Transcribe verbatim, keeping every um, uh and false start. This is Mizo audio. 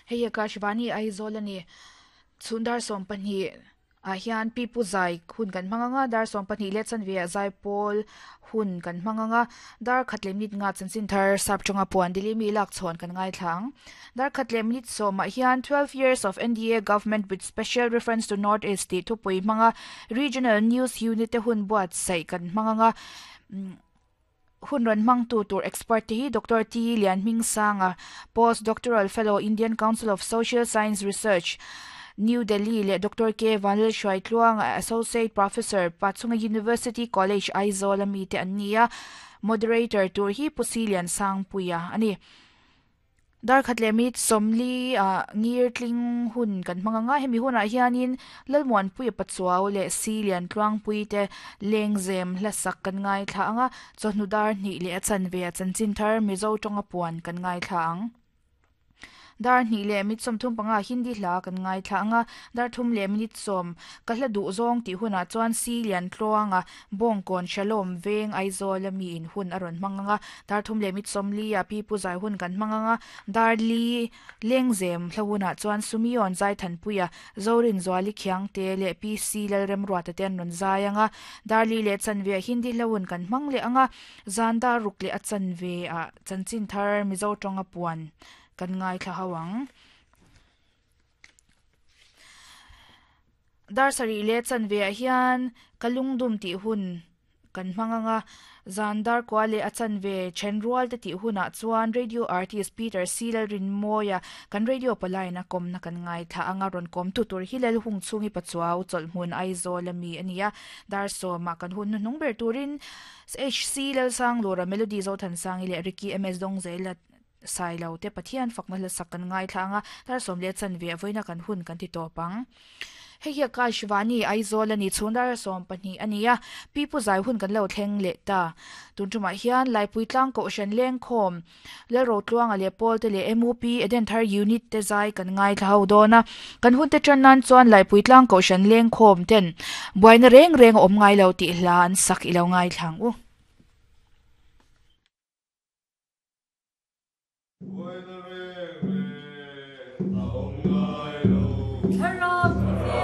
Hei Akashvani Aizawl ani chhundar som pahnih a hian pi pu zai hun kan hmanganga dar som pahnih le chanve a zai pawl hun kan hmanganga dar khatle minute nga chanchin thar sap chunga puan dili mi lak chhawn kan ngai thlang dar khatle minute sawm ah hian twelve years of N D A government with special reference to North East ti thupui hmanga regional news unit te hun buat sai kan hmanganga hun ran mang tu tur expert te hi Doctor T Lian Ming Sanga postdoctoral fellow Indian Council of Social Science Research New Delhi le Doctor K Vanlal Hruaitluang Associate Professor Pachhunga University College Aizawl ami te ania moderator tur hi Pusilian Sangpuia ani dar khatle mit somli a ngir tling hun kan hmanganga hemi huna hianin lalmuan pui pachuaw le silian tluang pui te lengzem hlasak kan ngai thla anga chawhnu dar hni le chan ve chanchin thar mizo tonga puan kan ngai thla ang dar hni le mit som thum panga hindi hla kan ngai thla anga dar thum le minute som ka hla du zawng ti huna chuan silian tluanga bongkon shalom veng Aizawl ami in hun aron hmanganga dar thum le mit som li a pi pu zai hun kan hmanganga dar li lengzem hlahuna chuan sumion zai thanpuia zorin zwali khiang te le P C lalrem ruata ten ron zai anga dar li le chanve hindi hlahun kan hmang le anga zan dar ruk le a chanve a chanchin thar mizo tonga puan kan ngai thla hawang dar sari le chanve a hian kalungdum ti hun kan hmanganga zandar kwale a chanve chenrual te ti huna chuan radio artist Peter Silal Rinmoya kan radio palaina komna kan ngai tha anga ron kom tu tur hilal hung chungi pachuaw cholhmun Aizawl ami ania dar so ma kan hun nung ber turin H C Lal sang lora melody zo than sang ile Ricky M S dong zela sai lo te pathian fakna la sak kan ngai thlanga tar som le chanve avoina kan hun kan ti topang hei hi Akashvani Aizawl ani chhundar som pahnih ania pi pu zai hun kan lo thleng le ta tun tuma hian laipui tlang ko shan leng khom le ro tluanga le pol te le M U P Eden Thar unit te zai kan ngai thlau dona kan hun te tran nan chuan laipui tlang ko shan leng khom ten buaina reng reng om ngai lo ti hlan sak ilo ngai thlang u. Buena.